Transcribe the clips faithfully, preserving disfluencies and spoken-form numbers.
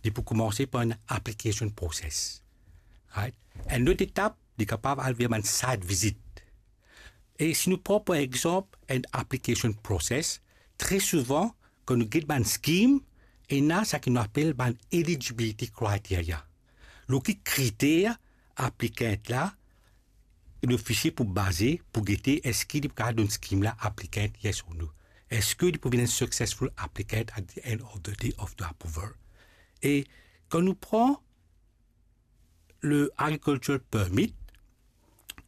Li pou koumanse par enn application process. Right? Enn lot etap, li kapav al ver bann site visit. E si nou pran, par exanp, enn application process, tre souvan, kan nou get bann scheme, ena seki nou apel bann eligibility criteria. Lor ki kriter aplikant la, lofisie pou baze, pou gete eski li pou kapav donn scheme la aplikant, yes or no. Eski li pou vinn enn successful applicant at the end of the day of the approval. E kan nou pran le agricultural permit,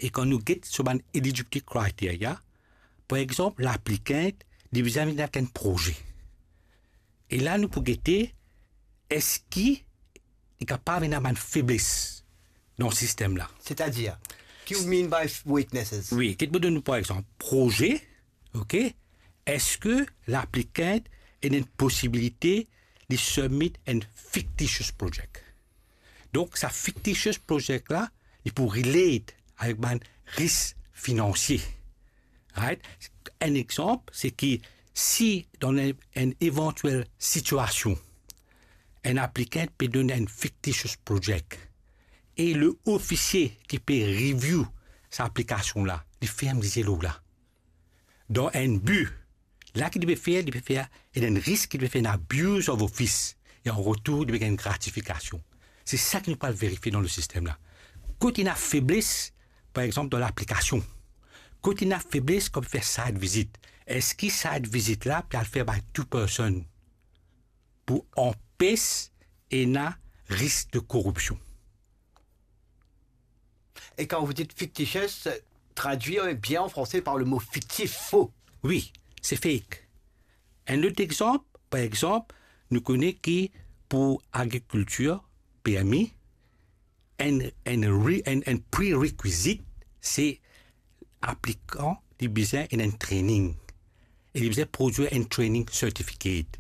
e kan nou get so bann eligibility criteria, par exanp, laplikant, li bizin vinn avek enn proze. E la, nou pou gete, eski li kapav ena bann febles dan sistem la. Setadir, ki ou mean by f-, weaknesses? Wi, get mo donn nou, par exanp, proze, ok? Eski laplikant ena enn posibilite li submit enn fictitious project? Donk, sa fictitious project la, li pou relate avek bann risk finansie. Right? Enn exanp, se ki si dan enn, enn evantiel sitiasion, enn aplikant pe donn enn fictitious project, e le ofisie ki pe review sa aplikasion la, li ferm lizie lor la. Dan enn bi, la ki li pe fer, li pe fer, ena enn risk ki li pe fer enn abuse of office, e an retour, li pe gagn gratifikasion. Se sa ki nou pou al verifie dan le sistem la. Kot ena febles, par exanp, dan laplikasion. Kot ena febles kan fer site visit. Eski site visit la pe al fer by two person pou anpes ena risk de koripsion? Et quand vous dites fictitious, traduit bien en français par le mot fictif, faux. Wi, se fake. Enn lot exanp, par exanp, nou kone ki pou agrikiltir, permi, enn, enn re-, enn, enn prerequisite, se aplikan li bizin ena enn training. E li bizin prodwir enn training certificate.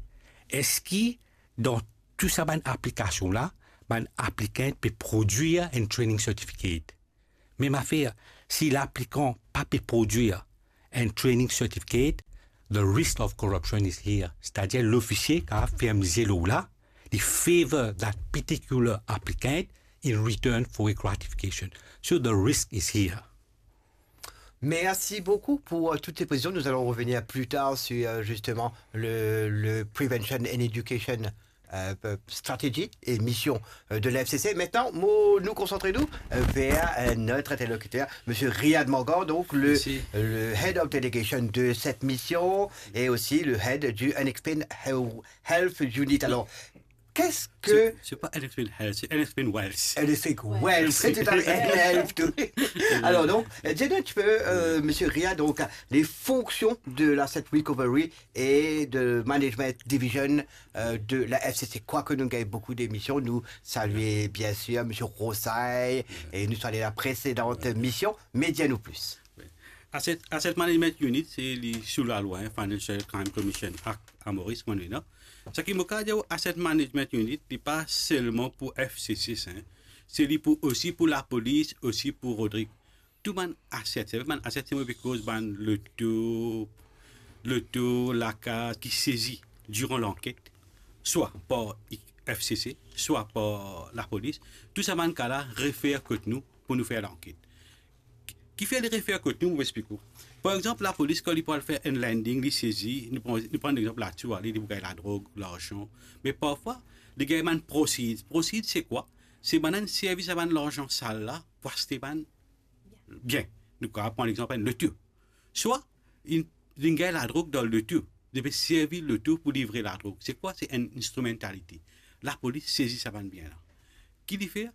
Eski dan tou sa bann aplikasion la, bann aplikant pe prodwir enn training certificate? Mem afer, si laplikan pa pe prodwir enn training certificate, the risk of corruption is here. Setadir lofisie kapav ferm lizie lor la, li favor that particular applicant in return for a gratification. So the risk is here. Merci beaucoup pour, euh, toutes ces précisions. Nous allons revenir plus tard sur, euh, justement le, le Prevention and Education, euh, Strategy et mission, euh, de l'A F C C. Maintenant, mo-, nou konsant nou, euh, vers, euh, notre interlocuteur, monsieur Riyad Mangar, donc le, Merci. Le head of delegation de cette mission et aussi le head du Unexplained Health Unit. Alors, qu'est-ce que... C'est, c'est pas Unexplained Health, c'est Unexplained Wealth. Unexplained Wealth, c'est tout à fait N L F, tout. Alors donc, euh, dis-nous un petit peu, euh, monsieur Riyad, donc, les fonctions de l'Asset Recovery et de Management Division, euh, de la F C C. Quoique nous gagnons beaucoup d'émissions, nous saluons bien sûr monsieur Rosay et nous saluons la précédente mission, mais dis-nous plus. Wi. Asset, Asset Management Unit, se li sou lalwa, hein, Financial Crime Commission Act a Moris, kouma nou ena. Seki mo kapav dir, Asset Management Unit, li pa selman pou F C C, hein. Se li pou, osi pou lapolis, osi pou Rodrig. Tou bann asset, se bann asset, se mo pe koz bann loto, loto, lakaz ki sezi diran lanket, swa par F C C, swa par lapolis. Tou sa bann ka la refer kot nou pou nou fer lanket. Kifer li refer kot nou, mo explik ou. Par exanp, lapolis, kan li pou al fer enn landing, li sezi, nou pran, nou pran lexanp Latour, ale, li pou gagn ladrog, larzan. Me parfwa, li gagn bann proceeds. Proceeds, se kwa? Se bann inn servi sa bann larzan sal la pou aste bann bien. Nou kapav pran lexanp enn loto. Swa, inn, inn gagn ladrog dan loto. Li pe servi loto pou livre ladrog. Se kwa? Se enn instrumentality. Lapolis sezi sa bann bien la. Ki li fer?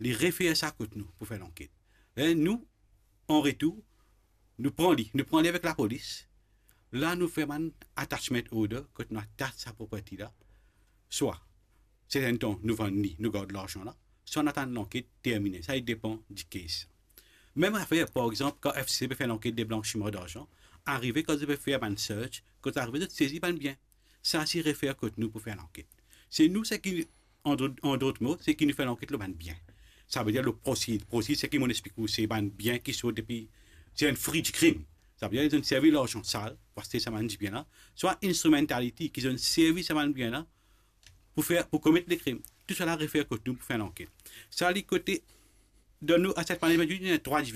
Li refer sa kot nou pou fer lanket. E nou, an retour, nou pran li, nou pran li avek lapolis. La, nou fer bann attachment order, kot nou attach sa property la. Swa, serten tan, nou vann li, nou gard larzan la, swa nou atann lanket termine. Sa, li depan di case. Mem afer, par exanp, kan F C C pe fer lanket de blanchiman darzan, arive kan zot pe fer bann search, kan zot arive, zot sezi bann bien. Sa, se refer kot nou pou fer lanket. Se nou, seki, an dot, an dot mo, seki nou fer lanket lor bann bien. Savedir lor proceeds. Proceeds, seki mo explik ou, se bann bien ki sort depi, se enn frui di krim. Savedir, zot inn servi larzan sal pou aste sa bann dibien la. Swa instrumentality, ki zot inn servi sa bann bien la pou fer, pou komet lekrim. Tou sala refer kot nou pou fer lanket. Sa li kote, dan nou asset management unit, ena trwa division.